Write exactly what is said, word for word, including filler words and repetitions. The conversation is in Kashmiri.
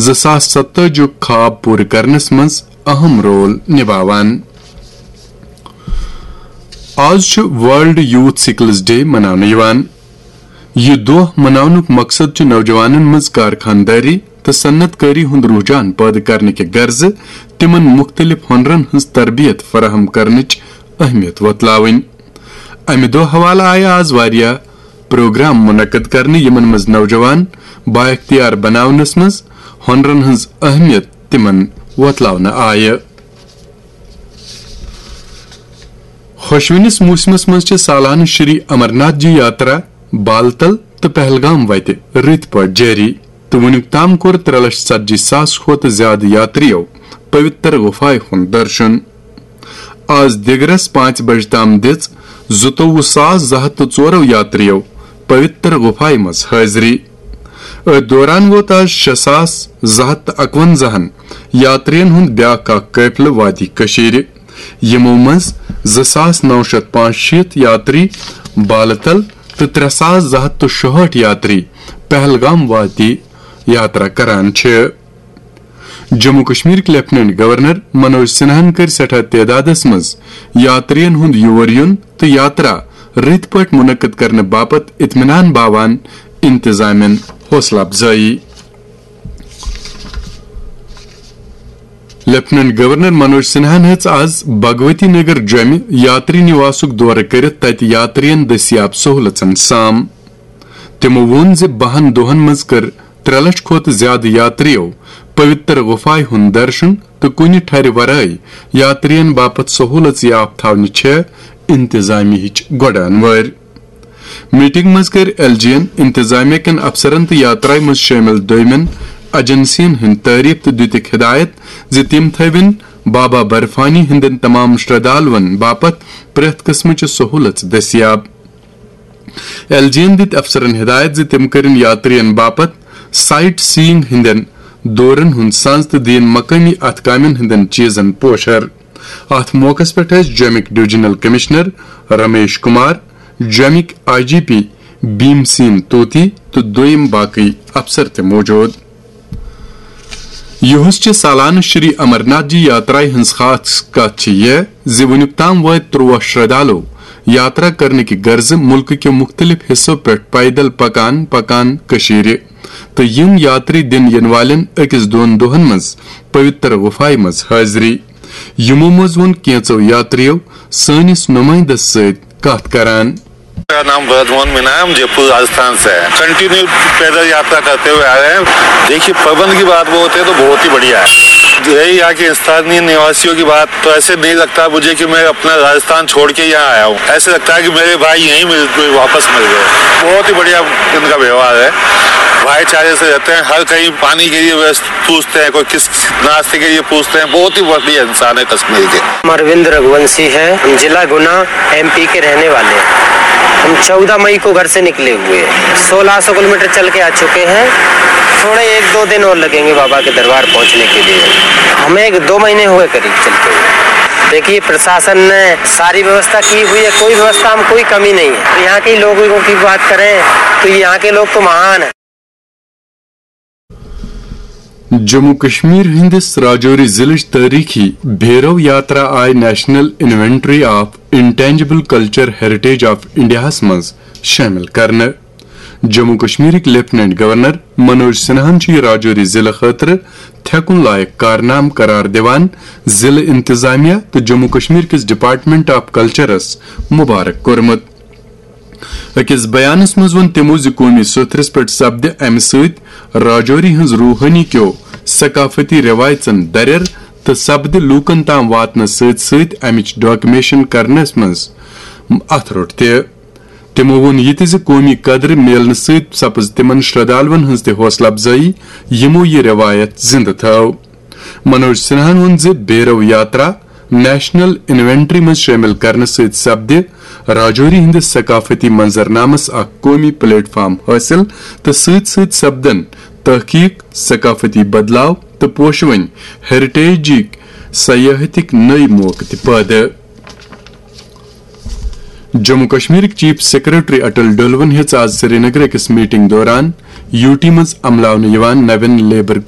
زٕ ساس ستٲجی یُک خواب پوٗرٕ کرنس منٛز اہم رول نباوان۔ آز چھُ ورلڈ یوتھ سکلز ڈے مناونہٕ یِوان۔ یہِ دۄہ مناونُک مقصد چھُ نوجوانن منٛز کارخانہٕ دٲری تہٕ صنعت کٲری ہُنٛد رجحان پٲدٕ کرنہٕ کہِ غرضہٕ تِمن مُختٔلِف ہُنرن ہٕنٛز تربیت فراہم کرنٕچ اہمیت وۄتلاوٕنۍ۔ امہِ دۄہ حوالہٕ آیہِ آز واریاہ پروگرام منعقد کرنہٕ، یِمن منٛز نوجوان بااختیار بناونس منٛز ہُنرن ہٕنٛز اہمیت تِمن وۄتلاونہٕ آیہِ۔ خۄشوٕنِس موسمس منٛز چھِ سالانہٕ شری امرناتھ جی یاترا بالتل تہٕ پہلگام وتہِ رٕتۍ پٲٹھۍ جٲری، تہٕ وُنیُک تام کوٚر ترٛےٚ لچھ ژتجی ساس کھۄتہٕ زیادٕ یاترِیو پویتر غفایہِ ہُنٛد درشن۔ آز دِگرس پانٛژِ بجہِ تام دِژ زٕتووُہ ساس زٕ ہتھ تہٕ ژورو یاترِیو پویتر غفایہِ منٛز حٲضری۔ أتھۍ دوران ووت آز شےٚ ساس زٕ ہتھ تہٕ اکونزہن یاترِین ہُنٛد بیٛاکھ اکھ قٲفلہٕ وادی کٔشیٖرِ۔ یِمو منٛز زٕ ساس نو شتھ پانٛژشیٖتھ یاتری بالہٕ تل تہٕ ترٛےٚ ساس زٕ ہتھ تہٕ شُہٲٹھ یاتری پہلگام وادی یاترا کران چھِ۔ جموں کشمیرٕکۍ لیفٹیننٹ گورنر منوج سنہاہن کٔرۍ سٮ۪ٹھاہ تعدادس منٛز یاترین ہُنٛد یور یُن تہٕ یاترا رٕتۍ پٲٹھۍ منعقد کرنہٕ باپتھ اطمینان باوان انتظامین حوصلہٕ افزٲیی۔ لیفٹیننٹ گورنر منوج سنہاہن ہیٚژ آز بھگوتی نگر جوٚمہِ یاتری نواسُک دورٕ کٔرِتھ تتہِ یاترین دٔستیاب سہولژن سام۔ تِمو ووٚن زِ بَہَن دۄہَن منٛز کٔر ترٛےٚ لَچھ کھۄتہٕ زِیٛادٕ یاترِیو پویتر غفایہِ ہُنٛد درشن تہٕ کُنہِ ٹھرِ ورٲے یاترِین باپتھ سہوٗلژ یافتہٕ تھاونہِ چھےٚ انتظامیہٕچ گۄڈٕ انوٲرۍ۔ میٹنگ منٛز کٔرۍ ایل جی یَن انتظامیہ کٮ۪ن افسرن تہٕ یاترایہِ منٛز شٲمِل دوٚیمٮ۪ن ایجنسین ہٕنٛدۍ تعریف تہٕ دِتُکھ ہدایت زِ تِم تھٲوِن بابا برفانی ہٕنٛدٮ۪ن تمام شردھالوَن باپتھ پرٛٮ۪تھ قٕسمٕچہِ سہوٗلژ دٔستیاب۔ ایل جی یَن دِتۍ افسرن ہدایت زِ تِم کٔرِن یاترِین باپتھ سائٹ سیئنگ ہٕنٛدٮ۪ن دورن ہُنٛد سنز تہٕ دِیِن مقٲمی اتھٕ کامٮ۪ن ہٕنٛدٮ۪ن چیزن پوشر۔ اتھ موقعس پٮ۪ٹھ ٲسۍ جوٚمِکۍ ڈویژنل کمشنر رمیش کمار، جوٚمِکۍ I G P Bhim Sen Tuti تہٕ دوٚیم باقٕے افسر تہِ موجود۔ یُہُس چہِ سالانہٕ شری امرناتھ جی یاترایہِ ہٕنٛز خاص کتھ چھِ یہِ زِ وُنیُک تام وٲتۍ ترٛواہ شردھالو یاترا کرنہٕ کہِ غرضہٕ مُلکہٕ کیو مُختٔلِف حصو پٮ۪ٹھ پیدل پکان پکان کٔشیٖرِ، تہٕ یِم یاتری دِن یِنہٕ والٮ۪ن أکِس دۄن دۄہن منٛز پویتر غفایہِ منٛز حٲضری۔ یِمو منٛز ووٚن کینٛژو یاترِیو سٲنِس نُمٲیندس سۭتۍ کتھ کران۔ मेरा नाम ब्रजमोहन मीना है, हम जयपुर राजस्थान से हैं। कंटिन्यू पैदल यात्रा करते हुए आ रहे हैं। देखिए, प्रबंध की बात वो होती है तो बहुत ही बढ़िया है। यही यहाँ के स्थानीय निवासियों की बात, तो ऐसे नहीं लगता मुझे कि मैं अपना राजस्थान छोड़ के यहाँ आया हूँ। ऐसे लगता है कि मेरे भाई यहीं मिल, वापस मिल गए। बहुत ही बढ़िया इनका व्यवहार है, भाईचारे से रहते हैं। हर कहीं पानी के लिए व्यस्त पूछते हैं, कोई किस नाश्ते के लिए पूछते हैं। बहुत ही बढ़िया इंसान है कश्मीर के। हम अरविंद रघुवंशी हैं, हम जिला गुना एमपी के रहने वाले हैं। हम चौदह मई को घर से निकले हुए हैं, सोलह सौ किलोमीटर चल के आ चुके हैं। थोड़े एक दो दिन और लगेंगे बाबा के दरबार पहुंचने के लिए। हमें एक दो महीने हुए करीब चलते हुए। देखिए, प्रशासन ने सारी व्यवस्था की हुई है, कोई व्यवस्था में कोई कमी नहीं है। यहाँ के लोगों की बात करें तो यहाँ के लोग तो महान हैं। جموں کشمیر ہٕنٛدِس راجوری ضلعٕچ تٲریٖخی بھیرو یاترا آیہِ national inventory of intangible culture heritage of انڈیاہَس منٛز شٲمِل کرنہٕ۔ جموں کشمیرٕکۍ لیفٹیننٹ گورنر منوج سنہاہَن چھُ یہِ راجوری ضلعہٕ خٲطرٕ تھٮ۪کُن لایق کارنامہٕ قرار دِوان ضلعہٕ انتظامیہ تہٕ جموں کشمیر کِس ڈپارٹمنٹ آف کلچرس مبارک کوٚرمُت۔ أکِس بیانس منٛز ووٚن تِمو زِ قومی سوٚتھرِس پٮ۪ٹھ سپدِ امہِ سۭتۍ راجوری ہٕنٛز روحٲنی کیو ثقافتی رٮ۪وایژن درٮ۪ر تہٕ سپدِ لوٗکن تام واتنس سۭتۍ سۭتۍ امِچ ڈاکومینٹیشن کرنس منٛز اتھٕ روٚٹ تہِ۔ تِمو ووٚن یہِ تہِ زِ قومی قدرٕ میلنہٕ سۭتۍ سپٕز تِمن شردھالوَن ہٕنٛز تہِ حوصلہٕ افزٲیی، یِمو یہِ رٮ۪وایت زِنٛدٕ تھٲو۔ منوج سنہاہن ووٚن زِ بھیرو یاترا نیشنل انوینٹری منٛز شٲمِل کرنہٕ سۭتۍ سپدِ راجوری ہٕنٛدِس ثقافتی منظرنامس اکھ قومی پلیٹ فارم حٲصِل تہٕ سۭتۍ سۭتۍ سپدن تحقیق، ثقافتی بدلاو تہٕ پوشوٕنۍ ہیریٹیجٕکۍ سیاحتٕکۍ نٔوۍ موقعہٕ تہِ پٲدٕ۔ جموں کشمیرٕکۍ چیف سیکرٹری اٹل ڈولون ہیٚژ آز سرینگر أکِس میٹنگ دوران یوٗ ٹی منٛز عملاونہٕ یِوان نوٮ۪ن لیبر